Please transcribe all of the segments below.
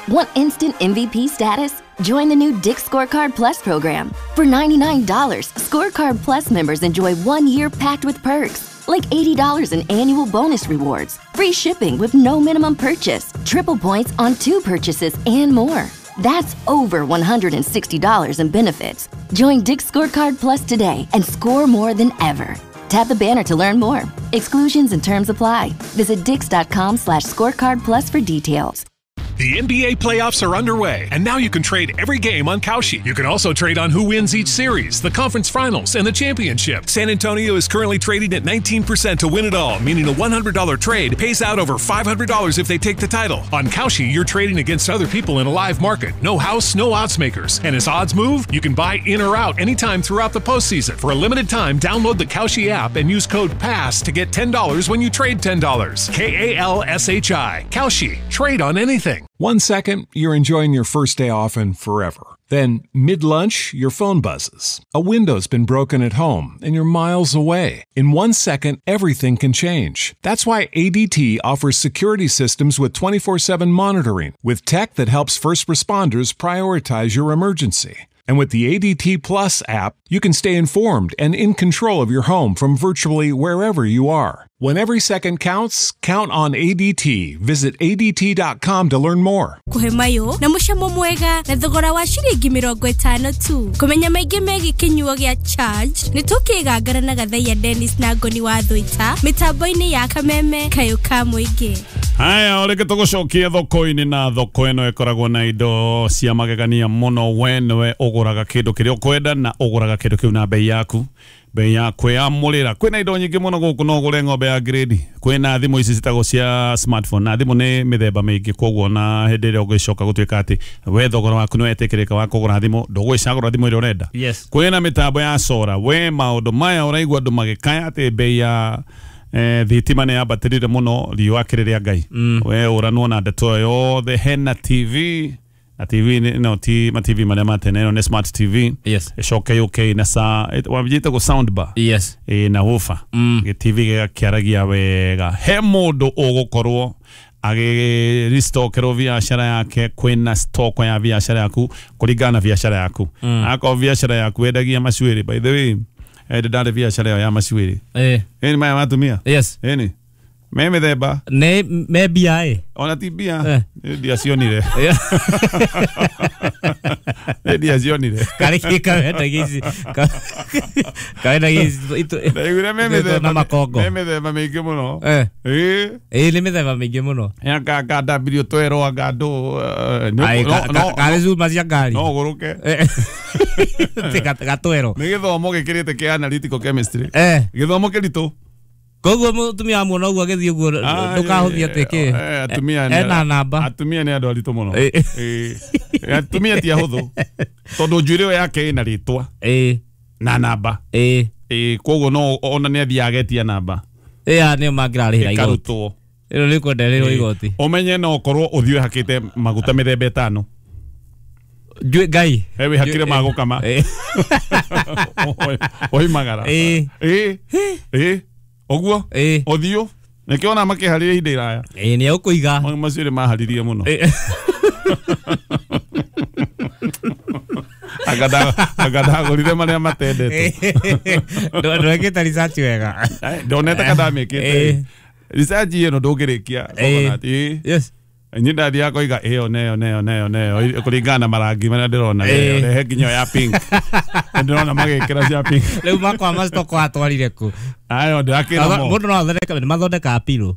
Want instant MVP status? Join the new Dick's Scorecard Plus program. For $99, Scorecard Plus members enjoy 1 year packed with perks, like $80 in annual bonus rewards, free shipping with no minimum purchase, triple points on two purchases, and more. That's over $160 in benefits. Join Dick's Scorecard Plus today and score more than ever. Tap the banner to learn more. Exclusions and terms apply. Visit dicks.com/scorecard plus for details. The NBA playoffs are underway, and now you can trade every game on Kalshi. You can also trade on who wins each series, the conference finals, and the championship. San Antonio is currently trading at 19% to win it all, meaning a $100 trade pays out over $500 if they take the title. On Kalshi, you're trading against other people in a live market. No house, no odds makers. And as odds move, you can buy in or out anytime throughout the postseason. For a limited time, download the Kalshi app and use code PASS to get $10 when you trade $10. Kalshi. Kalshi. Trade on anything. 1 second, you're enjoying your first day off and forever. Then, mid lunch, your phone buzzes. A window's been broken at home and you're miles away. In 1 second, everything can change. That's why ADT offers security systems with 24/7 monitoring, with tech that helps first responders prioritize your emergency. And with the ADT Plus app, you can stay informed and in control of your home from virtually wherever you are. When every second counts, count on ADT. Visit ADT.com to learn more. Kuhe mayo na mucamo mwega na thogora wa ciringi 50 tu. Kumenya maingĩ megiĩ kĩnyuo gĩa Charge, nĩ tũkĩgangara na Gathaiya Dennis na Ngoni wa Thũita mĩtambo-inĩ ya Kameme kayũ ka mũingĩ. Haya, reke tũgũcokie thoko-inĩ, na thoko ĩno ĩkoragwo na indo cia magegania mũno. We nĩwe ũgũraga kĩndũ kĩrĩa ũkwenda na ũgũraga kĩndũ kĩu na bei yaku, bei ya kwĩamũrĩra. Kwĩna indo nyingĩ mũno gũkũ. No ũgũre ng'ombe ya grade, kwĩna thimũ ici citagwo cia smartphone, na thimũ nĩ mĩthemba mĩingĩ. Koguo na hĩndĩ ĩrĩa ũgĩcoka gũtuĩka atĩ we thogora waku nĩ wetĩkĩrĩka wa kũgũra thimũ, ndũgwĩcagũra thimũ ĩrĩa ũrenda. Kwĩna mĩtambo ya solar. We maũndũ maya ũraigua andũ magĩkaya atĩ bei ya thitima nĩ yambatĩrire mũno, riũa kĩrĩ rĩa Ngai. We ũranwo na ndeto ĩyo yothe. Hena TV, na TV no ti ma TV marĩa ma tene, ĩno nĩ smart TV. Ĩcoke yũke na sa wamjĩtagwo sound bar. Na woofer. Gĩ TV gĩgakĩaragia wega. He mũndũ ũgũkorwo agĩristokerwo biacara yake. Kwĩna stock ya biacara yaku kũringana na biacara yaku. Akorwo biacara yaku wendagia macuĩrĩ, by the way, ndarĩ biacara ĩyo ya macuĩrĩ. Ĩni maya matumia. Ĩni me mĩthemba. Nĩ me mbia ĩ. Ona ti mbia. Ndiacionire. Ndiacionire. Karĩ kĩ kawendagia ici? Kawendagia ici Ndaiguire me na mĩthemba makongo. Me mĩthemba mĩingĩ mũno. Ĩĩ. Ĩ, nĩ mĩthemba mĩingĩ mũno. Anga ndambirio twerwo, anga andũ Ai, karĩ cuma cia ngari. No ũgũrũke. Ti gatwero. Nĩ gĩthomo gĩkĩrĩte kĩa analytical chemistry. Gĩthomo kĩritũ. Koguo mũtumia wa muona ũguo agĩthiĩ ũguo, ndũkahũthia atĩ kĩ. Atumia nĩ Ena namba. Atumia nĩ andũ aritũ mũno. Ĩĩ. Atumia ti ahũthũ tondũ njuĩrĩ ĩyo yake ĩna rĩtwa na namba. Ĩĩ, koguo no ona nĩ athiaga agetia namba. Ĩ, aya nĩo mangĩrarĩhĩra igoti. Ĩkarutwo. Ĩno nĩ kwendererwo igoti. Ũmenye no ũkorwo ũthiũ hakĩte maguta mĩthemba 5. Njuĩ ngai. He wĩhakire ma gũkama oimagara. Ĩĩ ĩĩ, ũguo ũthiũ nĩkĩo ona makĩharĩria ihinda iraya. Ĩ, nĩ egũkũiga. Macio nĩ maharirie mũno. Anga ndagũrire marĩa matendetwo. Ndwekĩte research wega. Ndonete ka ndamĩkĩte research ĩno ndũngĩrĩkia. Coconut, ĩĩ. Niĩ ndathiaga koiga ĩyo neyo neyo neyo neyo kũringana na marangi marĩa ndĩrona. Rehe nginya ya pink. Ndĩrona magĩkĩra cia pink. Rĩu makwa ma stock watwarire kũ? Ayo ndĩrakĩra mo. Mũndũ no athondeke, nĩ mathondekaga pillow.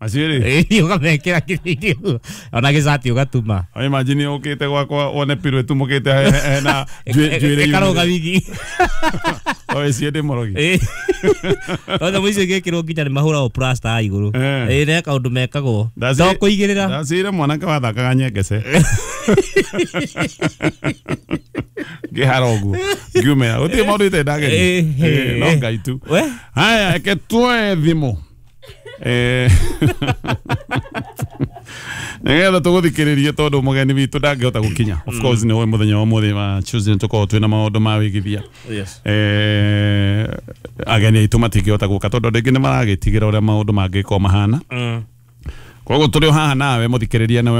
Macio rĩ. Ĩ, ũkamekĩra kĩrĩa ona gĩcati ũgatuma. Imagine ũkĩte gwakwa wone pillow ĩtumũkĩte hena njuĩrĩ. Ĩkarũga wigi. O ĩcio ndĩ mũrogi. Ĩ. No nyamũ icio igĩkĩrwo nginya nĩ mahũragwo plaster haha igũrũ. Ĩ, nĩ kaũndũ mekagwo. To kũigĩrĩra. Ndacire mwanake wathakaga nyengece ngĩhara ũguo ngiumĩra gũtirĩ maũndũ itarĩ ndageria. Ĩ, no Ngai tu. We? Haya, reke tuoe thimũ nĩgetha tũgũthikĩrĩrie tondũ mũgeni witũ ndangĩhota gũkinya. Of course nĩ ũĩ mũthenya wa ũmũthĩ wa Tuesday nĩtũkoragwo twĩna maũndũ ma wĩigithia. Ageni aitũ matingĩhota gũka tondũ andũ aingĩ nĩ maragĩtigĩra ũrĩa maũndũ mangĩkorwo mahana. Koguo tũrĩ o haha nawe mũthikĩrĩria nawe.